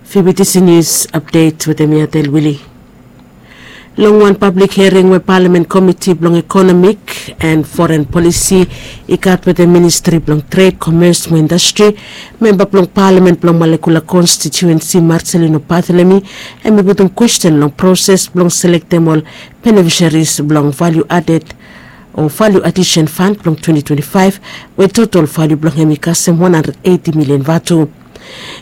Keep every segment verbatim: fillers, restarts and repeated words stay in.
Fibitisi nius apdet wetem mi Adel Wili. Long wan pablik hiaring we palamen komiti blong ekonomik and foren polisi i gat wetem ministri blong tred, komes mo indastri, memba blong palamen blong malekula konstitiuensi Marcelino Barthelemy hem i putum kwesten long proses blong selektem ol benefisharis blong valiu aded o valiu adisen fan blong twenti twenti faef, we totol valiu blong hem i kasem wan handred eiti milian vatu.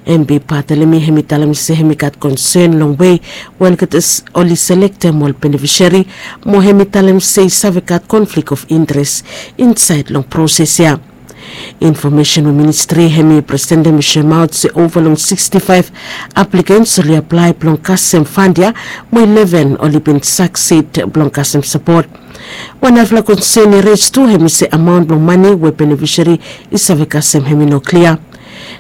Hem bi Barthelemy hem i talem se hem i gat konsen long wei we olgeta oli selektem ol benefishari, mo hem i talem se i save gat konflik of interes insaed long proses ya. Infomesen we ministri hem i presentem i soemaot se ova long siksti faef aplikens oli aplae blong kasem fan ya, mo ileven oli bin saksid blong kasem sapot. Wan narafala konsen i res tu hem i se amaon blong mane we benefishari i save kasem hem i no klia.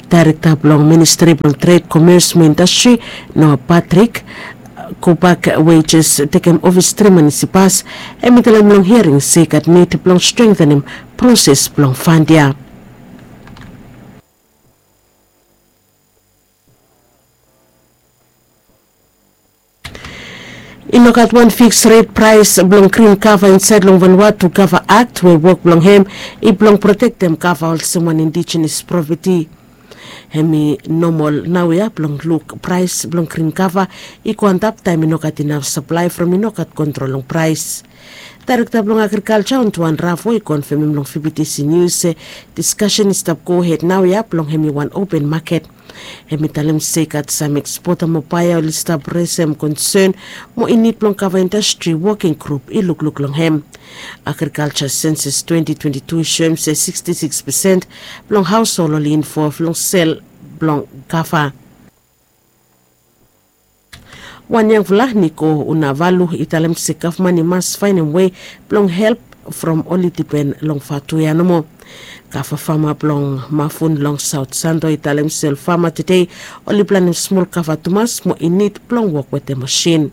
Daerekta blong ministri blong tred, komes mo indastri, Noah Patrick, gobak we i jes tekem ofis tri manis i pas, hem i talem long hiaring se i gat nid blong strengtenem proses blong fan ya. I no gat wan fiks ret praes blong grin kava insaed long Vanuatu Kava Akt we wok blong hem i blong protektem kava olsem wan indijenes propati. Hem i nomol naoia blong luk praes blong grin kava i go antap taem i no gat inaf saplae from i no gat kontrol long praes. Daerekta blong agrikalja Ontuan Ravo i konfemem long Fibitisi Nius se diskasen i stap gohed naoia blong hem i wan open maket. Hem i talem se i gat sam ekspota mo baea oli stap resem konsen mo i nid blong kava indastri woking grup i lukluk long hem. Agrikalja senses twenti twenti tu i soem se siksti siks pesen blong haoshol oli invov long sel blong kava. Wan yangfala Niko Unavalu i talem se gavman i mas faenem wei blong help from oli dipen long vatu ya nomo. Kava fama blong Mafun long Saot Santo i talem se ol fama tede oli planem smol kava tumas mo i nid blong wok wetem masin.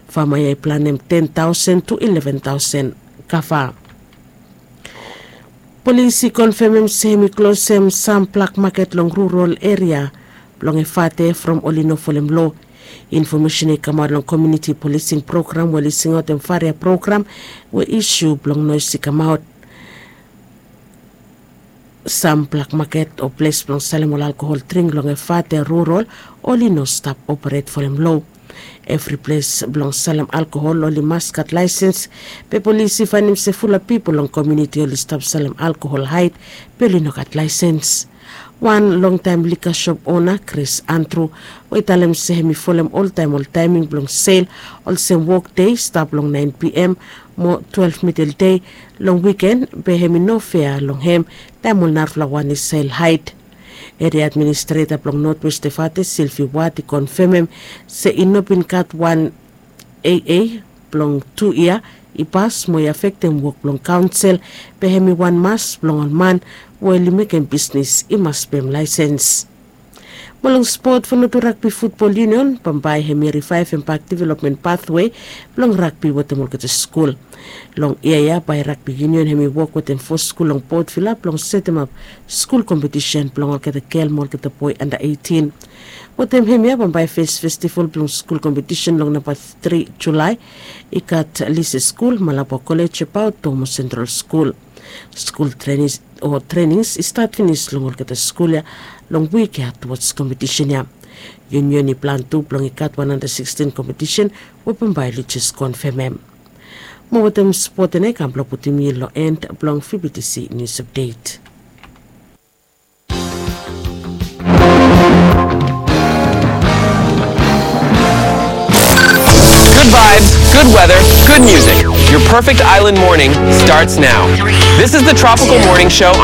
Fama ya i planem ten taosen tu ileven taosen kava. Polis i konfemem se hem i klosem sam blak maket long rural eria blong Efate from oli no folem loa. Infomesen i kamaot long komuniti polising program we oli singaotem faria program we isu blong noes i kamaot. Sam blak maket o ples blong salem ol alkohol dring long Efate rural oli no stap operet folem loa. Evri ples blong salem alkohol oli mas gat laesens, be polis i faenem se fulap pipol long komuniti oli stap salem alkohol haed be oli no gat laesens. Wan longtaem lika sop ona Kris Andru we i talem se hem i folem oltaem ol taeming blong sel, olsem wokdei stap long naen pm mo twelef mideldei, long wiken be hem i no fea long hem taem ol narafala wan i sel haed. Eria administreta blong Notwest Efate Silvi Wat i konfemem se i no bin gat wan aa blong tu yia i pas mo i afektem wok blong kaonsel, be hem i wan mas blong ol man we oli mekem bisnis i mas pem laesens. Mo long spot, Vanuatu Ragbi Futbol Yunion bambae hem i rivaevem bak developmen pathwe blong ragbi wetem olgeta skul. Long yia ya bae ragbi yunion hem i wok wetem fo skul long Port Vila blong setemap skul kompetisen blong olgeta gel mo olgeta boe anda eitin. Wetem hemia bambae fes festival blong skul kompetisen long namba tri Julae i gat Lise Skul, Malabo Kolej, Abaot Dom mo Sentral Skul. Skul trenings o trenings i stat finis long olgeta skul ya long wik ya tuwaj kompetisen ya. Yunion i plan tu blong i gat wan handa sikstin kompetisen we bambae oli jes konfemem. Mo wetem spot ene kam blong putum yu long en blong Fibitisi nius apdet. Good vibes, good weather, good music. Your perfect island morning starts now. This is the Tropical Morning Show on